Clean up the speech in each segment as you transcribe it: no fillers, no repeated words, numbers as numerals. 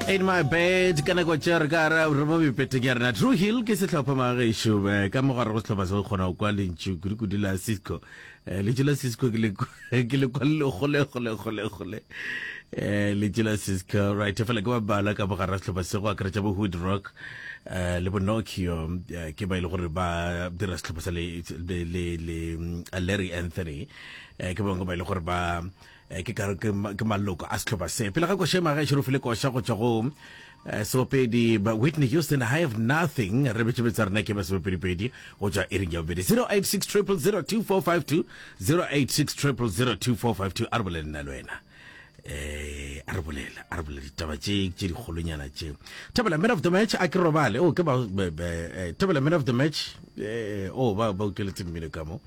In my bed ka nako tše re ka re re mo mepeteng ya rena. True Hill ke sehlopha magešo eh, ka mogare go sehlopha se go kgona go kwa lentšu kudu-kudu la Cisco. Eh, lentšu la Cisco ke le ke le kwa le gole gole gole gole. Eh, lentšu la Cisco right fela ke ba bala ka mogare ga sehlopha se go akaretša bo Hood Rock eh, le bo Nokia eh, ke ba ile gore ba dira sehlopha sa le le le, le mm, Larry Anthony eh, ke bangwe ba ile gore ba Eh, ke kare ke ma- ke maloko a sehlopha se pele ga koša maga e file koša go tšwa go eh, seopedi ba Whitney Houston I have nothing re betše betsa rena ke ba sebopedipedi go tšwa iring ya bobedi 086 0002452 086 0002452 a re bolele nna le wena eh a re bolela a re bolela ditaba tše tše dikgolonyana tše thobela man of the match a ke robale o ke ba be- be- eh, thobela man of the match eh o ba ba utlweletse mmino ka mo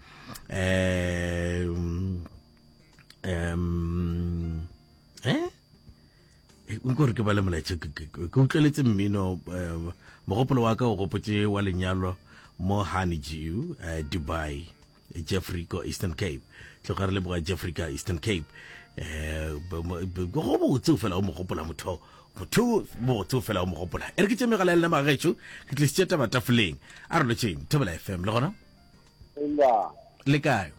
eh um eh nko re ke bale molaetša ke utlweletse mmino eh, mogopolo wa ka o gopotse wa lenyalo mo honeydew eh, dubai jeffrey ko eastern cape tloga re leboga jeffrey ka eastern cape eh go botse o fela o mogopola motho motho botse o fela o mogopola e re ke tše megala ya lena magagetšo ke tlisitše taba tafoleng a re lotšeng thobela fm le gona le kae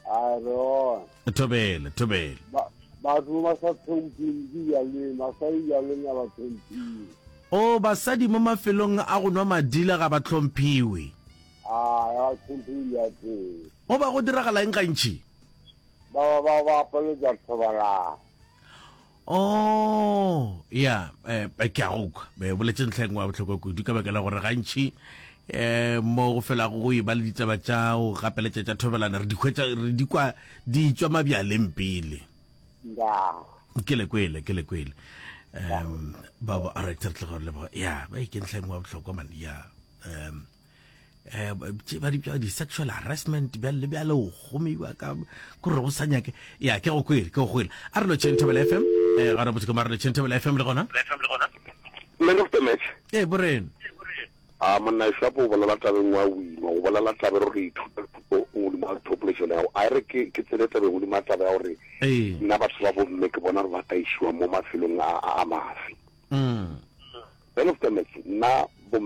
A re ona. Thobela, thobela. Ba batho ba sa tlhompheng dijaleng, basadi dijaleng ga ba tlhomphiwe. O, basadi mo mafelong a go nwa madila ga ba tlhomphiwe. A ga ba tlhomphiwe dijaleng. Go ba go diragala eng gantši? Ba ba ba ba apeletša thobalano. Oh, ya, eh, ke a go kwa. Be boletse ntlha e nngwe ya bohlokwa kudu ka baka la gore gantši eh mo go felago go e ba le ditaba tša go gapeletša tša thobelana re di hwetša re di kwa di tšwa mabjaleng pele. Ya. Ke le kwele, ke le kwele. Um ba ba a re tle go leboga. Ya, ba ke ntlha e nngwe ya bohlokwa man. Ya. Um eh tše ba di bitša di-sexual harassment bjale le bjale o gomiwa ka kore go sa nyake ya ke go kwele ke go kwele a re lotšheng thobela fm eh ga re botse ke ma re lotšheng thobela fm le gona man of the match ee boreno a monna shapo o bolela tabeng wa wima o bolela tabe re re ithuta thuto godimo ga thopolešone ya a re ke ke tsene tabeng godimo ga taba ya gore nna batho ba bomme ke bona re ba taišiwa mo mafelong a a mafe mm man of the match nna bomme.